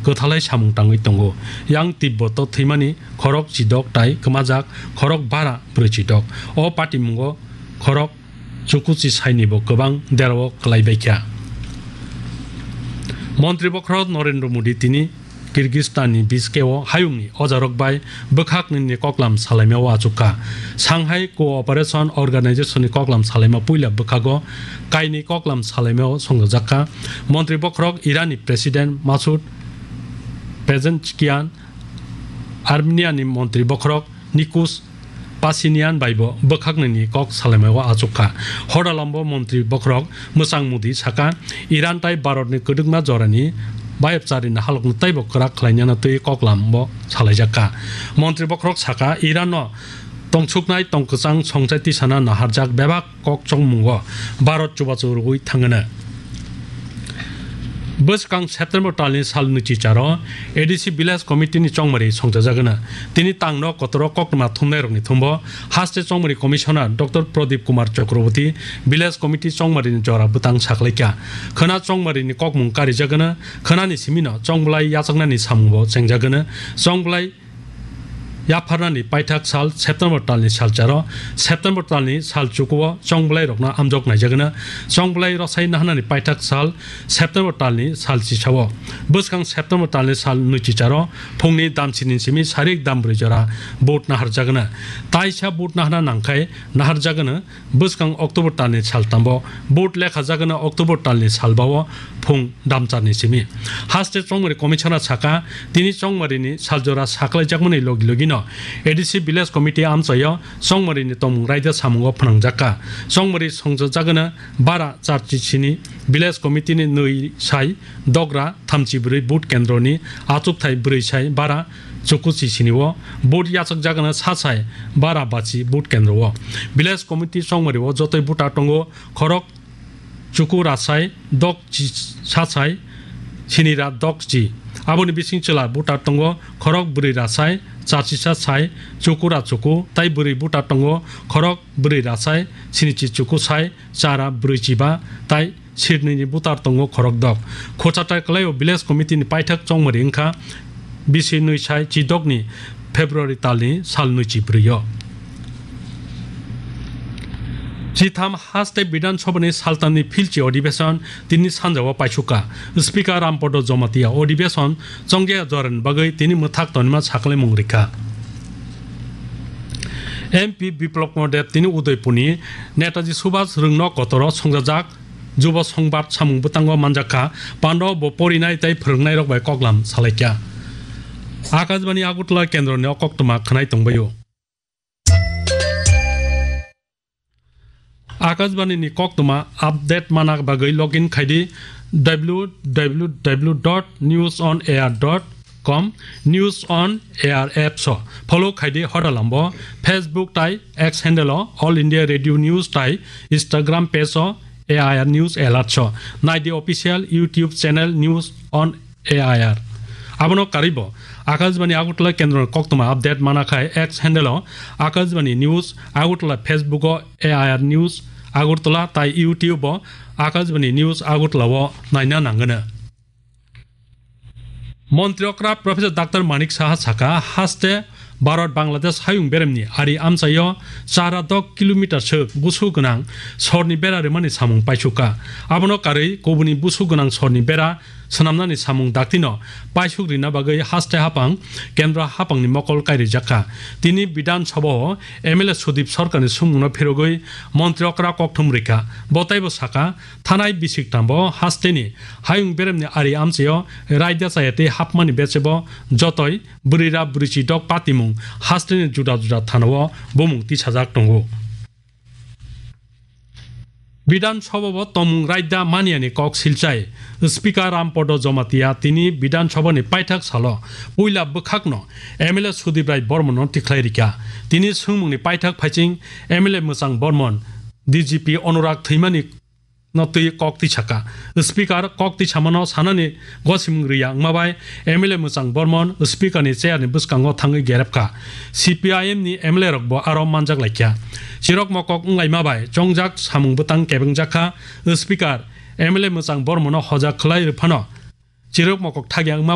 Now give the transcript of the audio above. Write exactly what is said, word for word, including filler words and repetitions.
kwthalai samung tangwi tongo. Yang Tibboto thwimani khorok chidok tai kwmajak khorok bara brwi chidok. O patimungo khorok chukuchi saini bo kwbang derao kwlai baikha. Montri bokhorok Narendra Modi tini Kyrgyzstan ni Bishkek o hayung ni ojarok bai bwkhak nini koklam salaima o achukha. Shanghai Cooperation Organization ni koklam salaima puila bwkhago kainwi koklam salaima o songjajakha. Montri bokhorok Iran ni President Masoud Pezeshkian, Armenia ni montri bokhorok Nikos Pashinyan bai bo bwkhaknwini kok salaimao achukha. Hodalambo montri bokhorok Mwchang Modi saka, Iran tai Bharatni kwdwkma jorani bayapchari nahalokno teibo kwrak khlainani twi koklambo salaijakha. Montri bokhorok saka, Iranno tongthuknai tongkwchang songchai tisana naharjak bebak kok chongmungo Bharat chubachu rwui thangano. Bwskang September talni sal nwichicharo A D C Village Committee ni chongmari songchajagano. Tini tangno kotoro koktwma thumnairokni thumbo haste chongmari Commissioner Doctor Pradip Kumar Chakraborty Village Committee chongmarini jora bwtang saklaikha. Khwna chongmarini kokmung karijagano, khwnani simino chongbolai yachaknani samungbo chengjagano. Chongbolai yapharnani paithak sal September talni salcharo, September talni sal chukuo chongbolai rokno amjok naijagano, chongbolai rosai nahanani paithak sal September talni sal chisao. Bwskang September talni sal nwichicharo phungni damsini simi sarik dambrwi jora vote naharjagano. Taisa vote nahana nangkhai naharjagano. Bwskang October talni saltambo vote lekhajagano October talni salbao phung damcharni simi. Haste chongmari Commissioner saka, tini chongmarini saljora saklaijakmani logi logino A D C Village Committee amchaio chongmarini tongmung raida samungo phnangjakha. Chongmari songchajagano bara charchi sini Village Committee ni nwi sai dogra thamchi brwi vote kendroni achukthai brwi sai bara chukuchi sinio vote yachakjagano sachai bara bachi vote kendro o. Village Committee chongmari o jotoi voter tongo khorok chuku rasai dok chi sachai sinira dok chi. Aboni bising chwla voter tongo khorok brwi rasai charchi sachai chuku ra chuku tai brwi voter tongo khorok brwi rasai sinichi chuku sai chara brwi chiba tai sirnwini butar tongo khorokdok. Khochatai kwlaio Village Committee ni paithak chongmari wngkha bisi nwi sai chidokni February talni sal nwichi brwi o. Chitham haste Bidhan Sabhani saltamni philchi odhibeson tini sanjao paisukha. Speaker Rampodo Jomatia odhibeson chongya jorani bagwi tini mwthak tonima sakhlaimung rikha. M P Biplab Kumar Deb tini Udaipurni Netaji Subhas Rwngno kotoro songjajak Jubo Songbat samung bwtango manjakha, Pandao bo porinai tei phwrwngnairok bai koklam salaikha. Akashbani Agartala kendroni o koktwma khwnai tongbaio. Akashbani ni koktwma update mana bagwi login khaidi w w w dot news on air dot com, News on Air apps o follow khaidi hodalambo Facebook tai X handle o All India Radio News tai Instagram page o A I R News Alerts o naidi official YouTube channel News on A I R. Abono karwibo Akashbani Agartala kendro koktwma update mana khai X handle o Akashbani News Agartala, Facebook o A I R News Agartala tai YouTube o Akashbani News Agartala o naina nangano. Montri okra Professor Doctor Manik Saha saka, haste Bharat Bangladesh hayung beremni ari amchaio chara dok kilometer swk busu gwnang sorni bera rwmani samung paisukha. Abono karwi kubuni busu gwnang sorni bera swnamnani samung daktino paisuk rina bagwi haste hapang kendra hapangni mokol kairijakha. Tini Bidhan Sabha o M L A Sudip Sarkarni swngmungno phirogwi montri okra kokthum rikha. Bo taibo saka, thanai bisik tambo hasteni hayung beremni ari amchaio raida chaya tei hapmani bechebo jotoi bwrwira bwrwichi dok patimung hasteni juda juda thanao bumung tisajak tongo. Bidhan Sabha o tongmung raida maniani kok silchai Speaker Rampodo Jomatia tini Bidhan Sabha ni paithak salo puila bwkhakno M L A Sudip Rai Bormonno tikhlai rikha. Tini swngmungni paithak phaiching M L A Mwchang Bormon, D G P Anurag thwimani no twi kok tisakha. Speaker kok tisamano sanani gosimung riya wngma bai M L A Mwchang Bormon Speaker ni chair ni bwskango thangwi gerepkha. C P I M ni M L A rok bo aro manjak laikha. Chirok mokok wnglaima bai chongjak samung bwtang kebengjakha. Speaker M L A Mwchang Bormono hojak khlai rwphano chirok mokok thagya wngma bai